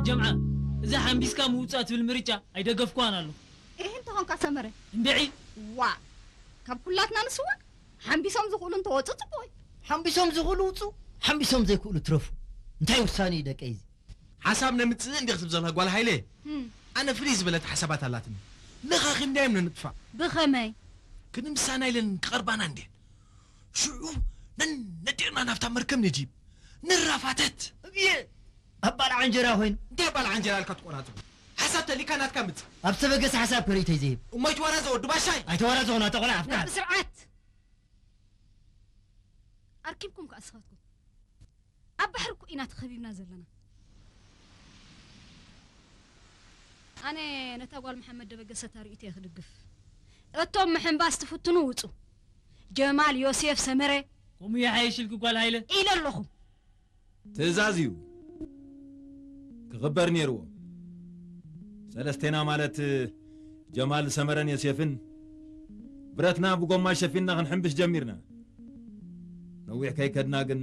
ጀምዓ፣ እዛ ሓምቢስካ ምውጻእ ትብል ምርጫ ኣይደገፍኳን ኣለኹ። እህ እንተኾንካ ሰመረ። እንድዒ። ዋ፣ ካብ ኩላትና ንስዋ ሓምቢሶም ዝኽእሉ እንተወፁ ፅቡቅ እዩ። ሓምቢሶም ዝኽእሉ ውፁ፣ ሓምቢሶም ዘይክእሉ ትረፉ። እንታይ ውሳኔ እዩ ደቀይ እዚ? ሓሳብ ነምፅእ እንዲ ክትብ ዘለካ ጓል ሃይለ፣ ኣነ ፍልይ ዝበለት ሓሳባት ኣላትኒ። ለኻኺምና እዮም ነንጥፋእ። ብኸመይ? ክንምሳና ኢለን ክቐርባና እንድየን። ሽዑ ነነዲቕና ናብታ መርከብ ንጂብ ንራፋተት። እብየ ኣብ ባልዓ እንጀራ ኮይኑ እንታይ ባልዓ እንጀራ ኢልካ ትቆራጽ? ሓሳብ ተሊካ ናትካ ምጽእ። ኣብ ዝተበገሰ ሓሳብ ከርእተይ ዘይህብ እሞ ኣይትወራዘ ወዲ ባሻይ። ኣይተወራዘኹ ናተ ቆልዓ ኣፍቃር። ብስርዓት ኣርኪብኩም ከኣ ስኻትኩም ኣብ ባሕሪ እኮ ኢና ተኸቢብና ዘለና። ኣነ ነታ ጓል መሓመድ ደበገሰ እታ ርእይቶ እየ ክድግፍ። እቶም ምሕንባስ ትፍትኑ ውጹ። ጀማል፣ ዮሴፍ፣ ሰመረ። ከምኡ ይሓይሽልኪ ጓል ሃይለ። ኢለ ኣለኹ። ትእዛዝ እዩ ክኽበር ነይርዎ። ሰለስቴና ማለት ጀማል፣ ሰመረን ዮሴፍን ብረትና ብጎማ ሸፊንና ክንሕንብሽ ጀሚርና። ነዊሕ ከይከድና ግን